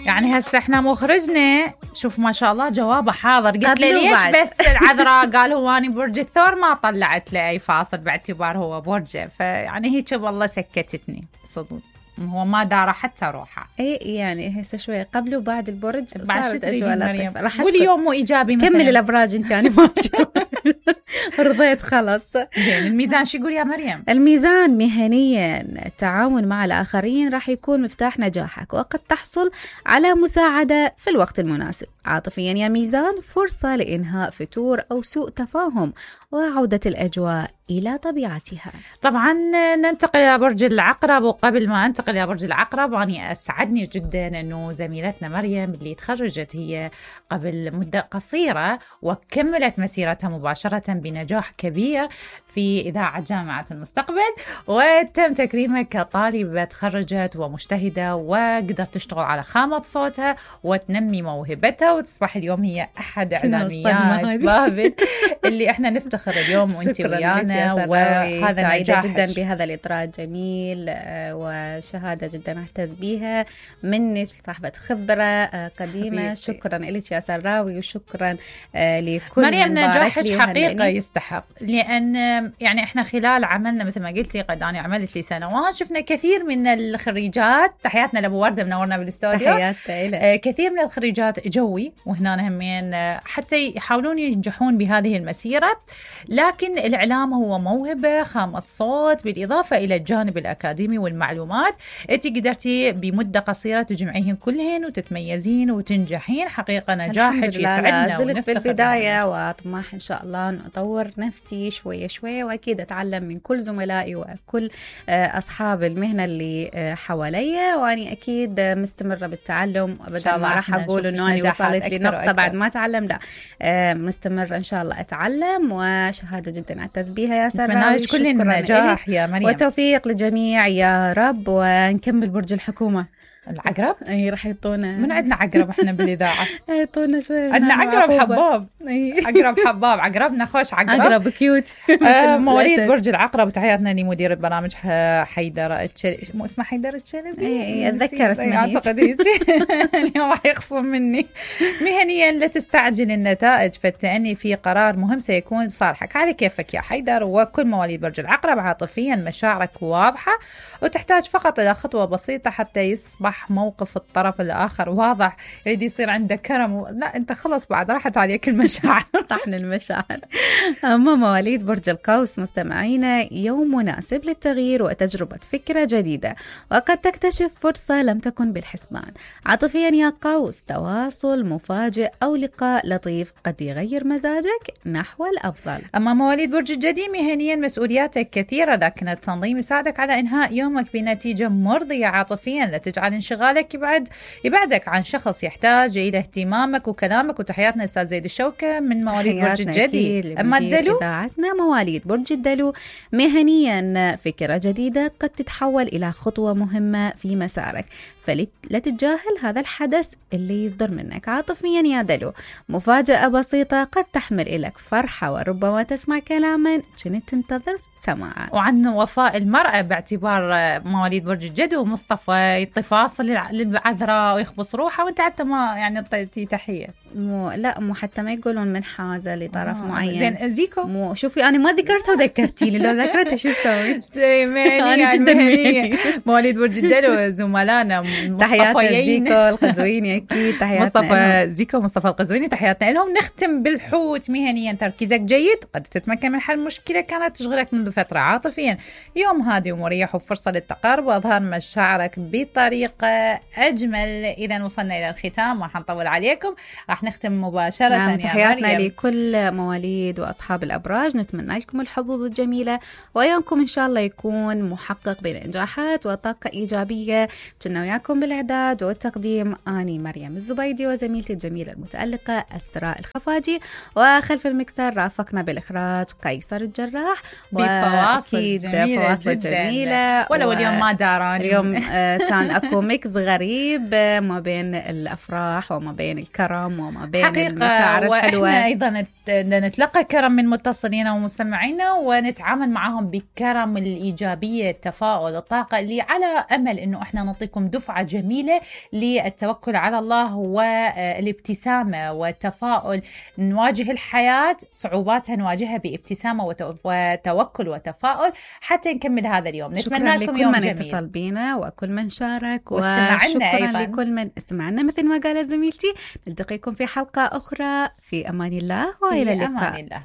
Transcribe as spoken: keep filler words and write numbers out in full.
يعني هسه احنا مخرجنا شوف ما شاء الله جوابه حاضر. قلت له ليش بعد. بس العذراء قال هو أنا برج الثور ما طلعت له أي فاصل باعتبار هو برجه، فيعني هيك والله سكتتني صدق، هو ما دار حتى روحه. اي يعني هسه شوي قبل وبعد البرج صارت اجواء لطيفه. راح واليوم مو ايجابي مثلا. كمل الابراج انت يعني ما رضيت خلاص. زين الميزان شو يقول يا مريم؟ الميزان مهنيا التعاون مع الاخرين راح يكون مفتاح نجاحك، وقد تحصل على مساعده في الوقت المناسب. عاطفيا يا ميزان فرصه لانهاء فتور او سوء تفاهم وعودة الأجواء إلى طبيعتها. طبعا ننتقل إلى برج العقرب، وقبل ما أنتقل إلى برج العقرب أنا أسعدني جدا أنه زميلتنا مريم اللي تخرجت هي قبل مدة قصيرة وكملت مسيرتها مباشرة بنجاح كبير في إذاعة جامعة المستقبل، وتم تكريمها كطالبة تخرجت ومجتهدة وقدرت تشتغل على خامة صوتها وتنمي موهبتها، وتصبح اليوم هي أحد إعلاميات بابل اللي إحنا نفتخر اليوم وانت ويانا. وهذا سعيدة جدا بهذا الإطراء الجميل وشهادة جدا أعتز بها منك صاحبة خبرة قديمة. شكرا لك يا سراوي، وشكرا لكل مريم. نجاحك حقيقة يستحق، لأن يعني إحنا خلال عملنا مثل ما قلتي قد أنا عملت لي سنوات شفنا كثير من الخريجات. تحياتنا لأبو وردة منورنا بالاستوديو. تحياتنا كثير من الخريجات جوي وهنا همين حتى يحاولون ينجحون بهذه المسيرة، لكن الإعلام هو موهبة خامة صوت بالإضافة إلى الجانب الأكاديمي والمعلومات. أنت قدرتي بمدة قصيرة تجمعيهن كلهن وتتميزين وتنجحين. حقيقة نجاحك يسعدنا ونفتخر في البداية، وأطمح إن شاء الله أن أطور نفسي شوية شوية، وأكيد أتعلم من كل زملائي وكل أصحاب المهنة اللي حواليا، وأني أكيد مستمرة بالتعلم أبدا. ما راح أقول أنه أنا وصلت لنقطة بعد ما أتعلم، لا مستمرة إن شاء الله أتعلم، وشهادة جدا أعتز بها يا سارة. كل النجاح يا مريم وتوفيق للجميع يا رب. ونكمل برج الحكومة العقرب. اي راح يعطونا من عندنا عقرب احنا بالاذاعه. يعطونا شوي عندنا عقرب حباب. عقرب حباب عقربنا خوش عقرب عقرب كيوت. آه مواليد برج العقرب تحياتنا لمدير البرامج حيدر الشلبي. مو اسمه حيدر الشلبي؟ اي اتذكر اسمه اعتقد هيك. اليوم راح يخصم مني. مهنيا لا تستعجل النتائج، فالتأني في قرار مهم سيكون صالحك. على كيفك يا حيدر. وكل مواليد برج العقرب عاطفيا مشاعرك واضحة وتحتاج فقط الى خطوة بسيطة حتى يصبح موقف الطرف الآخر واضح. يريد يصير عندك كرم و... لا أنت خلص بعد راحت عليك المشاعر. طحن المشاعر. أما مواليد برج القوس مستمعينا يوم مناسب للتغيير وتجربة فكرة جديدة، وقد تكتشف فرصة لم تكن بالحسبان. عاطفيا يا قوس تواصل مفاجئ أو لقاء لطيف قد يغير مزاجك نحو الأفضل. أما مواليد برج الجدي مهنيا مسؤولياتك كثيرة، لكن التنظيم يساعدك على إنهاء يومك بنتيجة مرضية. عاطفيا لا تجعل انشغالك يبعد يبعدك عن شخص يحتاج إلى اهتمامك وكلامك. وتحياتنا أستاذ زيد الشوكة من مواليد برج الجدي. أما الدلو إذاعتنا مواليد برج الدلو مهنيا فكرة جديدة قد تتحول إلى خطوة مهمة في مسارك، فلا تتجاهل هذا الحدث اللي يصدر منك. عاطفيا يا دلو مفاجأة بسيطة قد تحمل لك فرحة، وربما تسمع كلاما كنت تنتظر سماعه. وعن وفاء المرأة باعتبار مواليد برج الجدي ومصطفى يطفاصل للعذراء ويخبص روحه، وانت حتى ما يعني اعطيتي تحية. مو لا مو حتى ما يقولون من حاجة لطرف آه. معين. زين زيكو مو شوفي أنا ما ذكرته وذكرتي لي، لو ذكرته شو اسوي؟ أنا جدا مهنية. مواليد برج الدلو زملائنا تحياتنا زيكو القزويني أكيد. تحياتنا مصطفى زيكو مصطفى القزويني تحياتنا لهم. نختم بالحوت مهنيا تركيزك جيد قد تتمكن من حل مشكلة كانت تشغلك منذ فترة. عاطفيا يوم هادي ومريح وفرصة للتقارب وإظهار مشاعرك بطريقة أجمل. إذا وصلنا إلى الختام ما حنطول عليكم، راح نختم مباشرة. نعم تحياتنا لكل مواليد وأصحاب الأبراج، نتمنى لكم الحظوظ الجميلة ويومكم إن شاء الله يكون محقق بإنجاحات وطاقة إيجابية. كنا وياكم بالإعداد والتقديم أني مريم الزبيدي وزميلتي الجميلة المتألقة أسراء الخفاجي، وخلف المكسر رافقنا بالإخراج قيصر الجراح. بفواصل جميلة فواصل جدا جميلة. ولو و... اليوم ما داراني اليوم كان أكو ميكس غريب ما بين الأفراح وما بين الكرم وما بين حقيقة المشاعر الحلوة. وإحنا أيضا نتلقى كرم من متصلينا ومستمعينا ونتعامل معهم بكرم الإيجابية، التفاؤل، الطاقة، اللي على أمل أنه إحنا نعطيكم دفعة جميلة للتوكل على الله والابتسامة والتفاؤل. نواجه الحياة صعوباتها نواجهها بابتسامة وتوكل وتفاؤل حتى نكمل هذا اليوم. نتمنى لكم يوم جميل. شكرا لكل من اتصل بينا وكل من شارك، واستمعنا وشكرا أيضا لكل من استمعنا. مثل ما قالت زميلتي، نلتقيكم في حلقة أخرى. في أمان الله وإلى اللقاء. أمان الله.